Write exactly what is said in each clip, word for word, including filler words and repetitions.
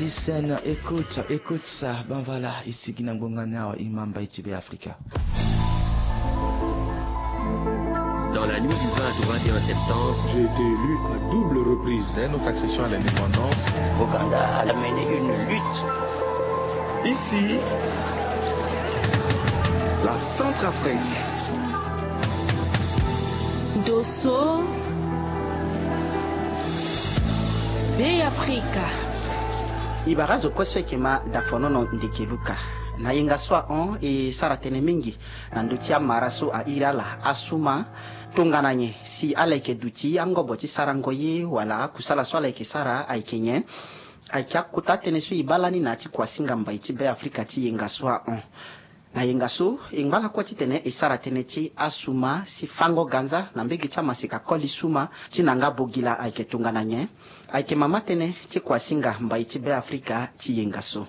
Listen, écoute, écoute ça. Ben voilà, ici Guinée Bonga Nao, Imamba Itibe Africa. Dans la nuit du vingt au vingt et un septembre, j'ai été élu à double reprise. Dès notre accession à l'indépendance, Ouganda a mené une lutte. Ici, la Centrafrique. Dosso, Bey Africa. E bara azo kue so ayeke ma dafonono ndeke luka. Na yenga so ahon e sara tënë mingi na ndö ti amara so airi ala asuma tongana nyen si ala yeke duti angobo ti sarango ye wala akusala so ala yeke sara ayeke nyen. Ayeke akota tënë so e baa lani na ya ti kuasinga mbai ti Bey Africa ti yenga so ahon. Na yenga so e ngba lakue titene e sara tënë ti asuma si fango ganza na mbege ti amaseka koli suma ti na nga bogila ayeke tongana nyen. Ayeke mama tënë ti kuasinga mbai ti Bey Africa ti yenga so.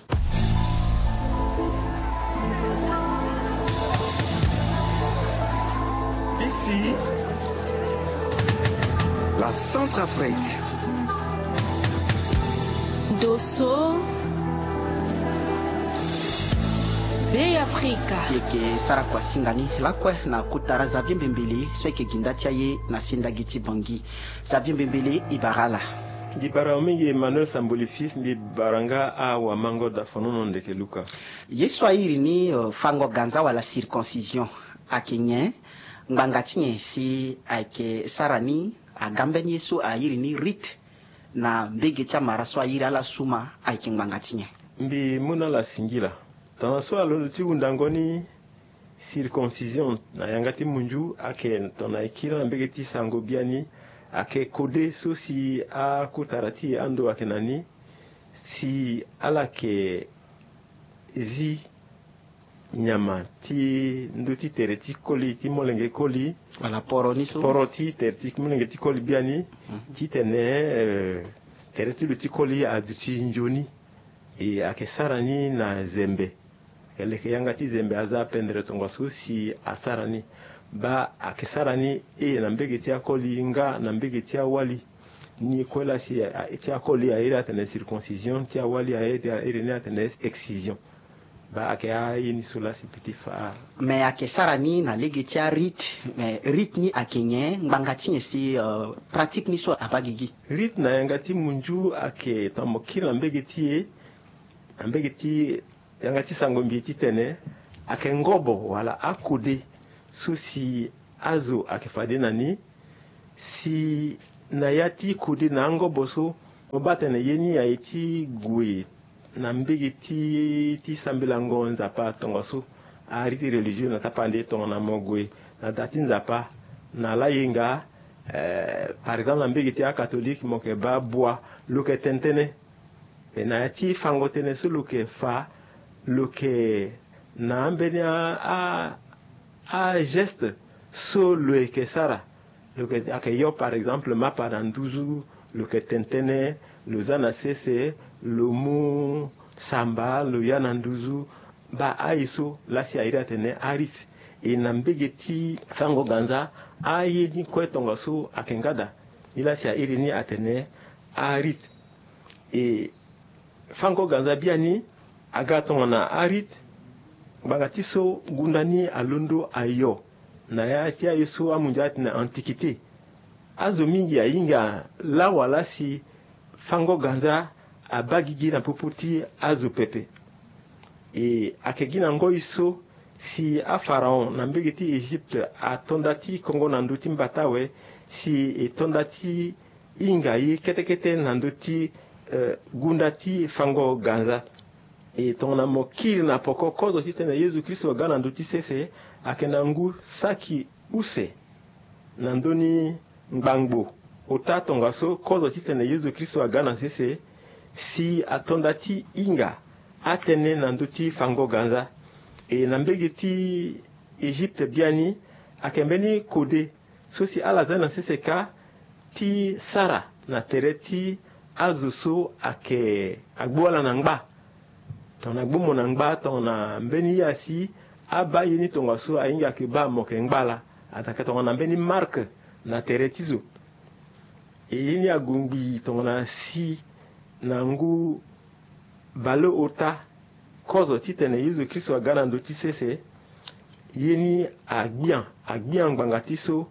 Ici, la Centrafrique. Dosso, Bey Africa. Yeke sara kuasinga ni lakue na kota ra Xavier Mbembele so yeke gi nda ti aye na sendagi ti Bangui. Xavier Mbembele, e bara ala. Mbi bara mingi Emmanuel Samboli Fils, mbi bara nga awamango dafonono ndeke luka. Ye so airi ni, euh, fango ganza wala circoncision ayeke nyen? Ngbanga ti nyen si ayeke sara ni? Aga mbeni ye so airi ni rite na mbege ti amara so airi ala suma ayeke ngbanga ti nyen? Mbi mu na ala singila. Tongana so alondo ti hundango ni circoncision na yanga ti munzu ayeke tongana e kiri na mbege ti sango biani, ayeke kode so si akotara ti e ando ayeke na ni si ala yeke zi nyama ti ndö ti tere ti koli ti molenge koli. Wala poro ni so. Poro ti tere ti molenge ti koli biani. Mhm. Titene, eh, tere ti lo ti koli aduti nzoni. E ayeke sara ni na zembe. Ayeke leke yanga ti zembe aza apendre tongaso si asara ni. Baa ayeke sara ni, e, na mbege ti akoli nga na mbege ti awali. Ni kue laa si, a, ti akoli airi atene circoncision, ti awali airi, airi ni atene excision. Baa ayeke aye ni so laa si mbi ti fa. Mais ayeke sara ni na lege ti arite. Mais rite ni ayeke nyen? Ngbanga ti nyen si, euh, pratique ni so abaa gigi? Rite na yanga ti munzu ayeke tongana mo kiri na mbege ti e, na mbege ti yanga ti sango mbi titene ayeke ngobo wala akode so si azo ayeke fade na ni. Si na ya ti kode na angobo so, mo baa atene ye ni aye ti gue na mbege ti, ti sambelango Nzapa tongaso, arite religieux na tapande tongana mo gue na da ti Nzapa na layenga, eh, par exemple na mbege ti acatholique mo yeke baa bua, lo yeke tene tënë. Me na ya ti fango tënë so lo yeke fa, lo yeke na ambeni a, a, ageste so lo yeke sara. Lo yeke, ayeke yo par exemple mapa na nduzu, lo yeke tene tënë, lo za na sese, lo mu samba, lo ya na nduzu. Baa aye so laa si airi atene arite. E na mbege ti fango ganza, aye ni kue tongaso ayeke nga daa. Ni laa si airi ni atene arite. E fango ganza biani aga tongana arite. Ngbanga ti so gunda ni alondo ayo na ya ti aye so amunzu atene antiquité. Azo mingi ahinga lawa laa si fango ganza abaa gigi na popo ti azo pepe. E ayeke gi na ngoi so si apharaon na mbege ti Egypte ato nda ti kongo na ndö ti mbata awe, si e to nda ti hinga ye kete kete na ndö ti, eh, gunda ti fango ganza. E tongana mo kiri na poko kozo titene Yezu Kristo aga na ndö ti sese, ayeke na ngu saki use na ndö ni ngbangbo. Ota tongaso kozo titene Yezu Kristo aga na sese, si ato nda ti hinga atënë na ndö ti fango ganza. E na mbege ti Egypte biani, ayeke mbeni kode so si ala za na sese kâ ti sara na tere ti azo so ayeke agbu ala na ngba. Tongana agbu mo na ngba, tongana mbeni ye asi abaa ye ni tongaso ahinga ayeke baa mo yeke ngba ala. Ato ayeke tongana mbeni marque na tere ti zo. E ye ni ague ngbii tongana si na ngu Baleota, kozo titene Yezu Kristo aga na ndö ti sese, ye ni agbian, agbian ngbanga ti so,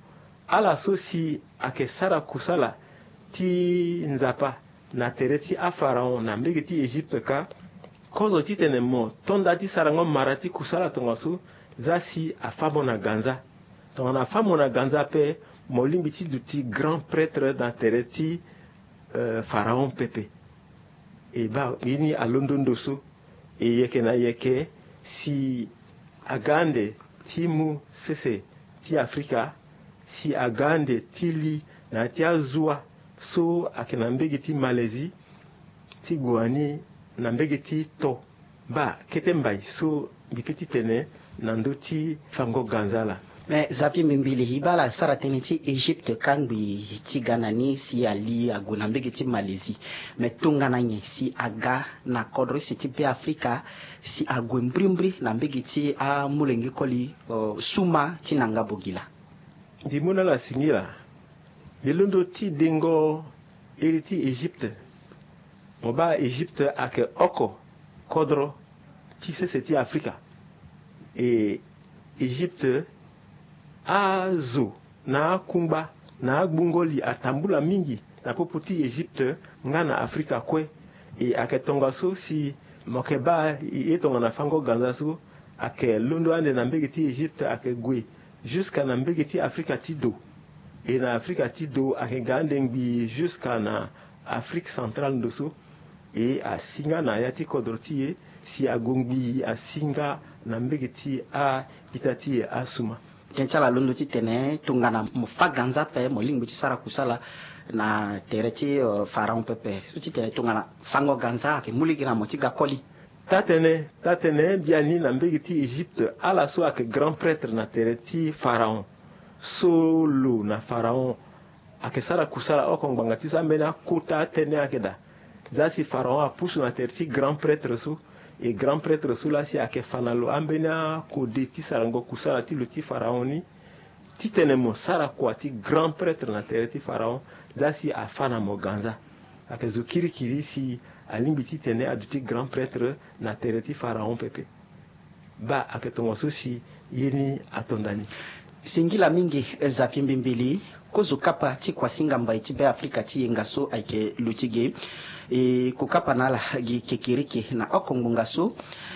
ala so si ayeke sara kusala ti Nzapa na tere ti apharaon na mbege ti Egypte kâ, kozo titene mo to nda ti sarango mara ti kusala tongaso, za si afâ mo na ganza. Tongana afâ mo na ganza ape, mo lingbi ti duti grand prêtre na tere ti, euh, pharaon pepe. E baa, ye ni alondo ndo so. E yeke na yeke, si aga ande ti mu sese ti Afrika, si aga ande ti li na ya ti azua so ayeke na mbege ti Malaisie, ti gue wani na mbege ti to. Baa, kete mbai so mbi pe ti tene na ndö ti fango ganza laa. Me Zapi Mbimbili, e baa ala sara tënë ti Egypte kangbi ti ga na ni si ali ague na mbege ti Malaisie. Me tongana nyen si aga na kodro use ti Be Afrika, si ague mbrimbri na mbege ti amolenge koli, euh, Suma ti Nanga Bogila? Ndimo na ala singila. Mbi londo ti dengo iri ti Egypte. Mo baa, Egypte ayeke oko kodro ti sese ti Afrika. E Egypte, azo na akungba na agbungo-li atambula mingi na popo ti Egypte nga na Afrika kue. E ayeke tongaso si mo yeke baa ye tongana fango ganza so ayeke londo ande na mbege ti Egypte, ayeke gue jusqu'à na mbege ti Afrika ti do. E na Afrika ti do ayeke ga ande ngbii jusqu'à na Afrique centrale ndo so. E asi nga na ya ti kodro ti e, si ague ngbii asi nga na mbege ti a-ita ti e Asuma. Tënë ti ala londo titene tongana mo fâ ganza ape, mo lingbi ti sara kusala na tere ti, euh, pharaon pepe. So titene tongana fango ganza ayeke mu lege na mo ti ga koli. Taa-tënë, taa-tënë, biani na mbege ti Egypte, ala so ayeke grand prêtre na tere ti pharaon, so lo na pharaon ayeke sara kusala oko ngbanga ti so, ambeni akota atënë ayeke daa. Za si pharaon apusu na tere ti grand prêtre so, e grand prêtre so laa si ayeke fa na lo ambeni akode ti sarango kusala ti lo ti pharaon ni, titene mo sara kua ti grand prêtre na tere ti pharaon, za si afâ na mo ganza. Ayeke zo kirikiri si alingbi titene aduti grand prêtre na tere ti pharaon pepe. Baa, ayeke tongaso si ye ni ato nda ni. Singila mingi, eh, Zapi Mbimbili. Kozo kapa ti kuasinga mbai ti Be Afrika ti yenga so ayeke lo ti ge. E ko kapa na ala gi kekereke na oko ngbonga so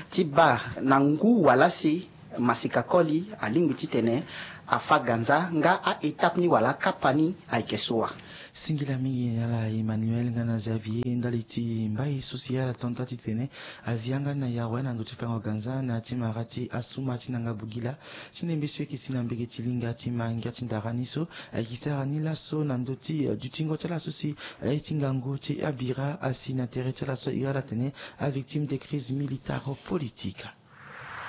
ti baa na ngu wala si masika koli alingbi titene afâ ganza nga a-étape ni wala akapa ni ayeke so wa. Singila mingi na ala Emmanuel nga na Xavier ndali ti mbai so si ala to nda titene azi yanga na yawe na ndö ti fango ganza na ya ti mara ti Asuma ti Nanga Bogila. Ti ndembe so e yeke si na mbege ti linga ti ma ngia ti ndara ni so, ayeke sara ni laso na ndö ti, eh, dutingo ti ala so si aye ti ngangu ti abira asi na tere ti ala so e iri ala tene avictime de crise militaro-politique.